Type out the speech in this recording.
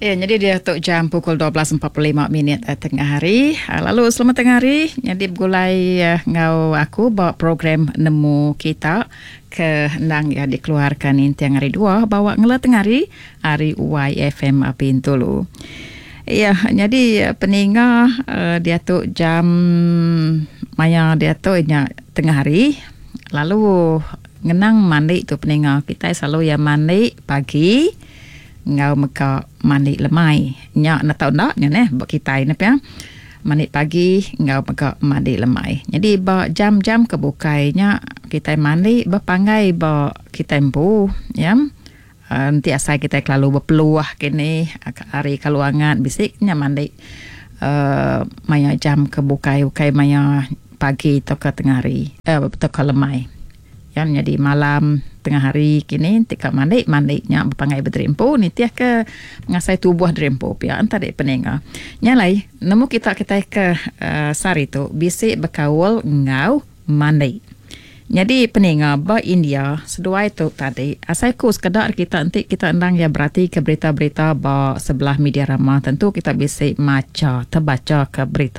Ya, nyadi diatu jam pukul 12.45 minit eh, tengah hari. Ah, lalu selamat tengah hari. Nyadi begulai eh, enggau aku ba program Nemu Kita ke endang ya dikeluarkan ninting hari dua bawa ngela tengah hari ari YFM Bintulu. Ya, nyadi eh, peninga diatu jam maya diatu nya tengah hari. Lalu ngenang mandi tu peninga kitai selalu ya mandi pagi enggau mega mandi lemai. Nya enda tau enda nya neh ba kitai ne pia. Mandi pagi enggau mega mandi lemai. Nyadi ba jam-jam ke bukai nya kitai mandi bepanggai ba kitai empu ya. Enti asai kitai kelalu bepeluh kini ari kalu angat bisi nya mandi uhh maya jam ke bukai ukai maya pagi tauka tengah hari tauka lemai. Iya nyadi malam tengah hari kini ti ka mandi mandi nya bepanggai bediri empu nitih ke ngasai tubuh diri empu pia enta dek peninga. Nya alai nemu kita kitai ke uhh sehari tu bisi bekaul enggau mandi. Nyadi peninga ba India seduai tu tadi asai ku sekeda ari kita enti kita endang iya berati ke berita-berita ba sebelah media rama tentu kita bisi macha tebacha ke berita.